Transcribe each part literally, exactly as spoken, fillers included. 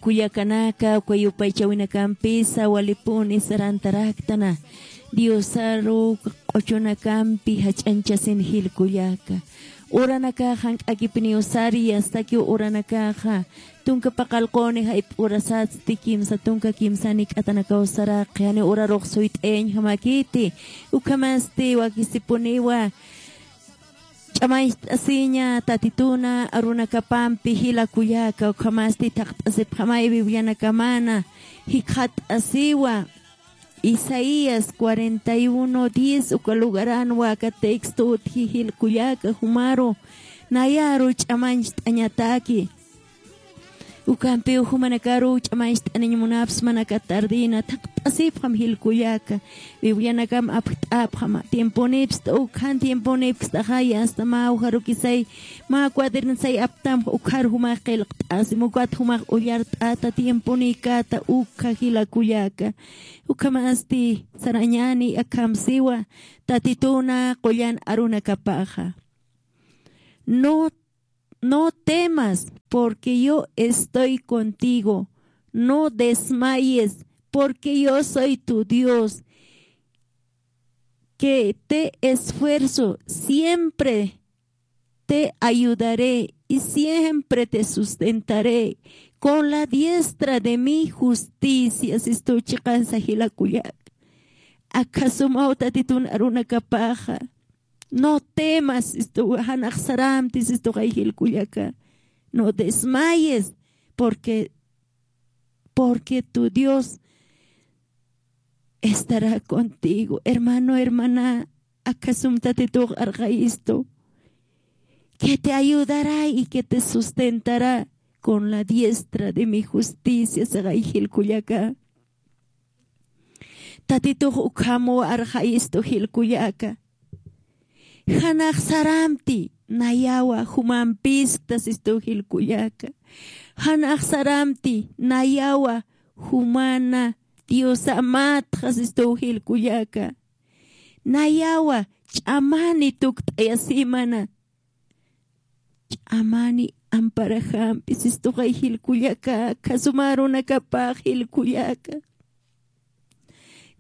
Kullakanaka, uka yupaychawinakampisa walipuni sarantaraktana. Diosaru q'uchunakampi jach'añchasin jil kullaka. Uranakaxa jank'akipiniw sari, astakiw uranakaxa tunka paqallquni jayp'urasatsti, kimsa tunka kimsani k'atanakaw saraqi, janiw urarux suyt'ayañjamäkiti. Ukhamasti wakisipuniwa ch'amañcht'asiña Tatituna arunakapampi jila kullaka, ukhamasti thaqt'asipxamay Biblianakamana, jikxatasiwa Isaías cuarenta y uno diez, uka lugaranwa aka texto utji jil kullaka, jumaru nayaru ch'amañcht'añataki. Ukampiw jumanakaru ch'amañcht'aniñ munapsma, aka tardina thaqt'asipxam jil kullaka. Biblianakam apjt'apxama. Tiemponipsta, ukhan tiemponipkstaxaya, asta mä ujarukisay, mä cuadernosay aptamx, ukhar jumax qillqt'asim, ukat jumax ullart'ata, tiemponïkata, ukha jila kullaka. Ukhamasti sarañäni akham siwa Tatituna qullan arunakapaxa. No No temas, porque yo estoy contigo. No desmayes, porque yo soy tu Dios, que te esfuerzo, siempre te ayudaré y siempre te sustentaré con la diestra de mi justicia. Sistu chiqansa jila kullak. Akhasumaw Tatitun arunakapaxa. No temas, sistu, jan axsaramti, sistu, jay jil kullaka. No desmayes, porque, porque tu Dios estará contigo. Hermano, hermana, akhasum Tatitux arxayistu, que te ayudará y que te sustentará con la diestra de mi justicia, sixay jil kullaka. Tatitux ukhamwa arxayistu jil kullaka. Jan axsaramti nayawa jumampiskta, sistu, jil kullaka. Jan axsaramti nayawa jumana Diosamatxa, sistu, jil kullaka. Nayawa ch'amani tukt'ayasimana. Ch'amani amparajampi, sistu, jay jil kullaka, akhasuma arunakapax jil kullaka.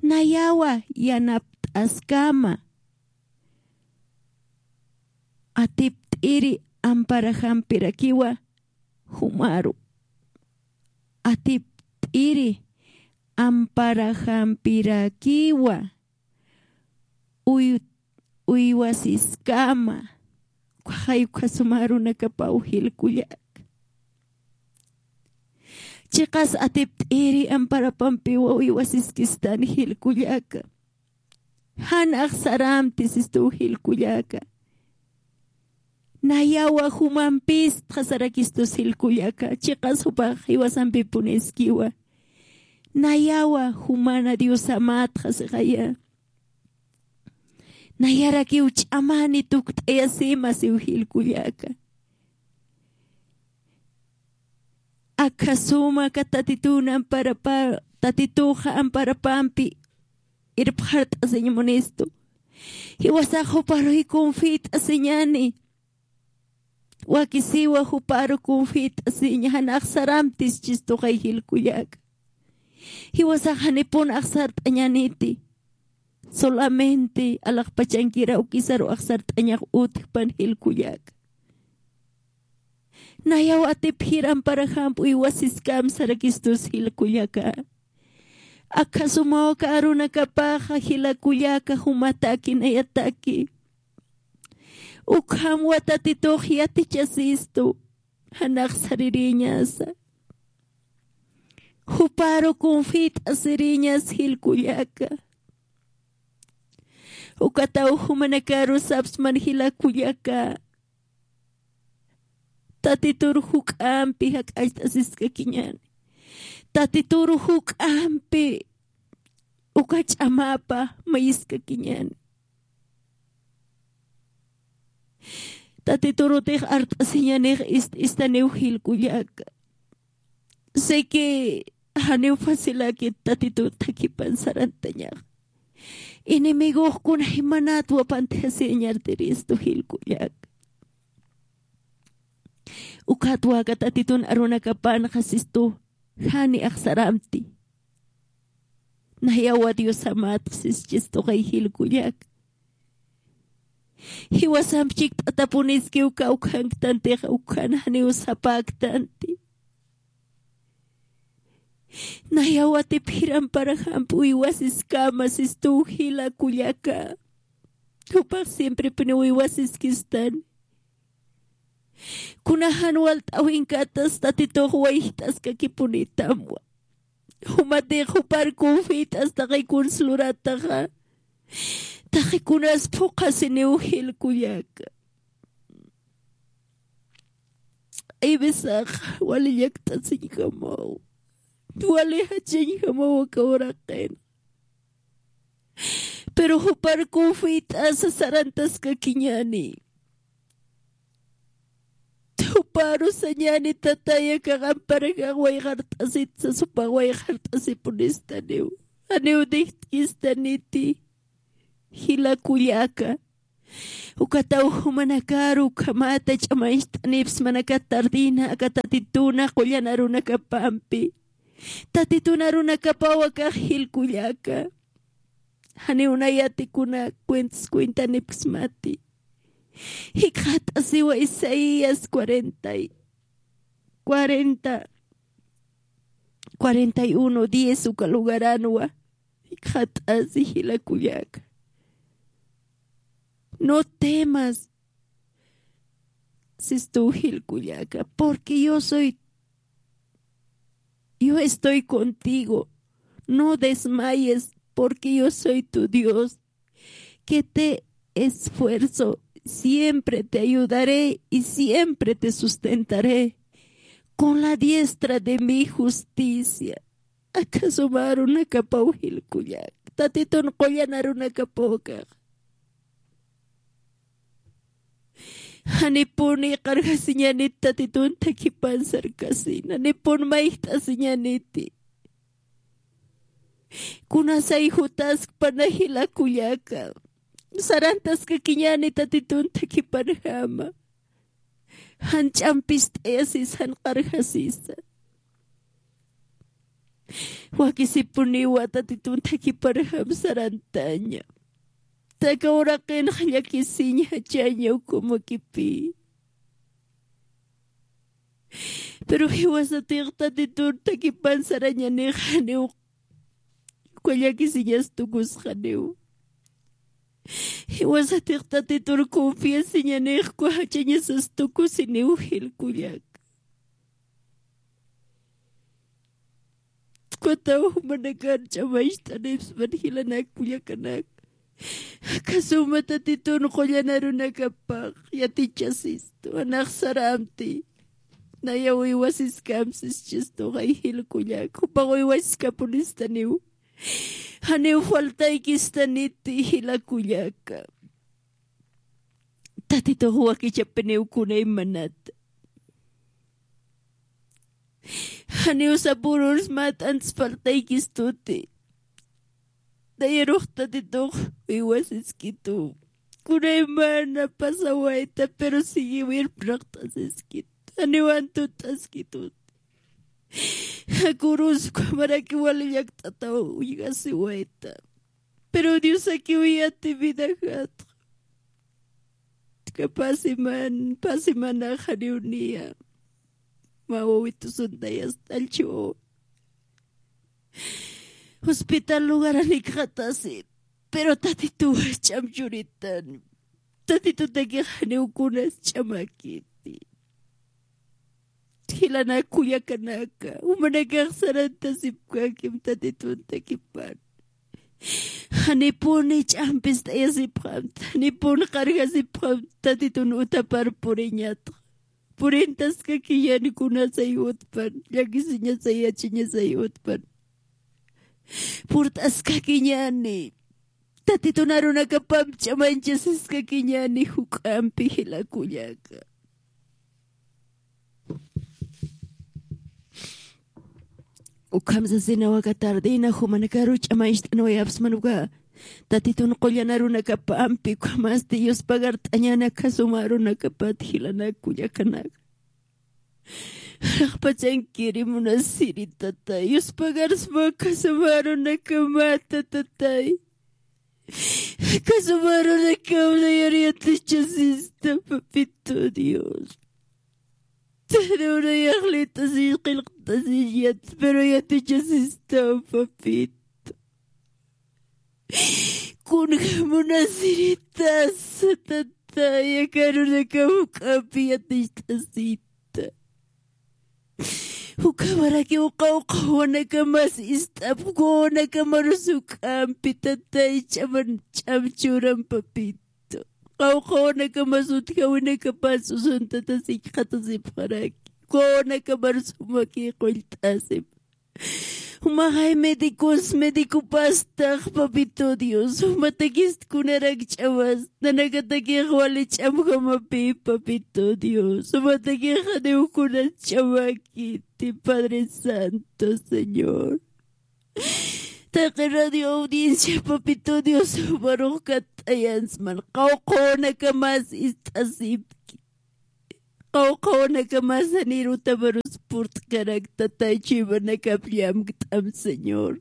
Nayawa yanapt'askama. Atipt'iri amparajampirakiwa jumaru. Atipt'iri amparajampirakiwa uy-, uywasiskama. Ukhaxay ukhasuma arunakapaw jil kullaka. Chiqas atipt'iri amparapampiwa uywasiskistan jil kullaka. Jan axsaramti, sistu, jil kullaka. Nayawa jumampistxa sarakistus jil kullaka. Chiqas jupax jiwasampipuniskiwa. Nayawa jumana Diosamatxa sixaya. Nayarakiw ch'amani tukt'ayasima siw jil kullaka. Akhasuma aka Tatitun amparapa-, Tatituxa amparapampi irpxart'asiñ munistu. Jiwasax juparuy confit'asiñani. Wakisiwa juparu confit'asiña, jan axsaramtis, sistu, jay jil kullaka. Jiwasax janipun axsart'añaniti. Solamente alaxpachankiraw kisaru axsart'añax utjpan jil kullaka. Nayaw atipjir amparajamp uywasiskam sarakistus jil kullaka. Akhasumaw aka arunakapaxa jila kullaka, jumataki nayataki. Ukhamwa Tatitux yatichasistu, jan axsaririñasa. Juparu confit'asiriñas jil kullaka. Ukataw jumanakaru sapsman jila kullaka. Tatitur juk'ampi jak'acht'asiskakiñäni. Tatitur juk'ampi uka ch'amapa mayiskakiñäni. Tatitur utix art'asiñanix ist-, istaniw jil kullaka. Sé que janiw facilakit Tatitun thakhipan sarantañax. Enemigox kunaymanat wapantjasiñartiristu jil kullaka. Ukatwa aka Tatitun arunakapanxa sistu, Jani axsaramti. Nayawa Diosamatx sischis tuqay jil kullaka. Jiwasamp chikt'atapuniskiw kawkhanktantix, ukhan janiw sapäktanti. Nayawatip jiramparaxamp uywasiskama sistuw jila kullaka. Jupax siemprepuniw uywasiskistani. Kuna jan walt'äwinkatas Tatitux wayjt'askakipunïtamwa. Jumatix jupar confiat'as taqi kuns lurataxa, taqi kunas phuqhasiniw jil kullaka. Hay veces wali llakt'asiñjamaw, wali jachañjamaw aka uraqin. Pero jupar confiat'asa sarantaskakiñäni. Juparu sañäni, Tatay, akax amparax wayqart'asitsa, jupax wayqart'asipunistaniw. Janiw dijtkistaniti, jila kullaka. Ukataw jumanakaru ukhamata ch'amañcht'anipsma aka tardina, aka Tatituna qullan arunakapampi. Tatitun arunakapaw akax jil kullaka. Janiw nayati kuna cuentas cuentanipksmati. Jikxatasiwa Isaías cuarenta y, cuarenta, cuarenta y uno diez uka lugaranwa. Jikxatasi jila kullaka. No temas, sistuw jil kullaka, porque yo soy, yo estoy contigo. No desmayes, porque yo soy tu Dios, que te esfuerzo, siempre te ayudaré y siempre te sustentaré con la diestra de mi justicia. Aka suma arunakapaw jil kullaka. Tatitun qullan arunakapaw akax. Janipuni qarjasiñänit Tatitun thakhipan sarkasin. Janipun mayjt'asiñäniti. Kunasay jutaskpana jila kullaka. Sarantaskakiñäni Tatitun thakhipanjama. Jan ch'ampist'ayasis, jan qarjasisa. Wakisipuniwa Tatitun thakhipanjam sarantaña. Aka uraqinx llakisiñ jachaña ukhamakipï. Pero jiwasatix Tatitun thakhipan sarañanix janiw uka llakisiñas tukusxaniw. Jiwasatix Tatitur confiasiñanix uka jachañasas tukusiniw jil kullaka. Ukataw jumanakar ch'amañcht'anipsman jilanak kullakanaka. Aka suma Tatitun qullan arunakapax yatichasistu, anax saramti. Nayaw uywasiskam sischistu, jay jil kullaka. Jupax uywasiskapunistaniw. Janiw faltaykistaniti jila kullaka. Tatitux wakichapiniw kunaymanata. Janiw sapürürs mä t'antas faltaykistuti. Nayarux Tatitux uywasiskitu. Kunaymana pasawayta, pero siguiw irpnaqt'asiskitu. Janiw antut'askitu. Jakurus ukhamaraki wali llakt'ataw uñjasiwayta. Pero Diosakiw yati vidajatxa. Aka pä siman, pä simanax janiw niya. Mä wawitusuntayas t'allchiw. Hospital lugaran jikxatasi. Pero Tatituw ch'am churitan. Tatitutakix janiw kunas ch'amakiti. Jilanak kullakanaka, jumanakax sarantasipkakim Tatitun thakhipan. Janipuni ch'ampist'ayasipxamta, janipuni qarjasipxamta, Tatitun utapar puriñatxa. Purintaskakiñäni kunasay utpan, llakisiñasay, yachañasay utpan. Purt'askakiñäni. Tatitun arunakapamp ch'amañchasiskakiñäni juk'ampi jila kullaka. Ukham sasinaw aka tardena jumanakaru ch'amañcht'anwayapxsman uka Tatitun qullan arunakapampi, ukhamasti Dios pagart'añäni aka suma arunakapat jilanak kullakanaka. Raqpachankiri munasiri, tatay. Yuspagarasma kasumarunakamat, tatay. Kasumarunakam yatichasista, papito Dios. Tari una yaqlit'asiñ qillqt'asiñ yat, pero yatichasista, papito. Kunja munasiritasa, tatay, aka arunakam juk'ampi yaticht'asita. Jukhamaraki qawqha wawanakamas ist'ap, jukhamarus juk'ampi, tatay, ch'aman, ch'am churam, papito. Qawqha wawanakamas utjawinakapas usuntata sikxatasipxaraki. Jukhamarus jumaki qullt'asip. Jumaxay médicos, médicopastax, papito Dios. Jumatakist kunarak ch'amas, nanakatakix wali ch'amjamapi, papito Dios. Jumatakix janiw kunas ch'amakiti, Padre Santo, Señor. Taqi radio audiencia, papito Dios, jumarux katt'ayansman. Qawqha wawanakamas ist'asipki. Qawqha wawanakamas janir utamarus purt'karak, tatay, chuymanakap llamkt'am, Señor.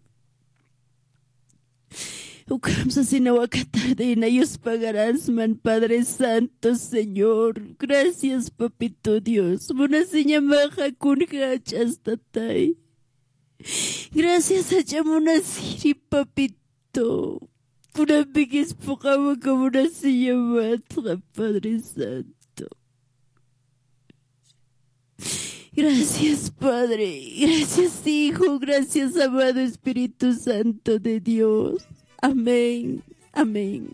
Ukham sasinaw aka tardena yuspagaransman, Padre Santo, Señor. Gracias, papito Dios. Munasiñamaxa kunjachas, tatay. Gracias, jach'a munasiri, papito. Kunampikis puqawaka munasiñamatxa, Padre Santo. Gracias, Padre. Gracias, Hijo. Gracias, amado Espíritu Santo de Dios. Amén. Amén.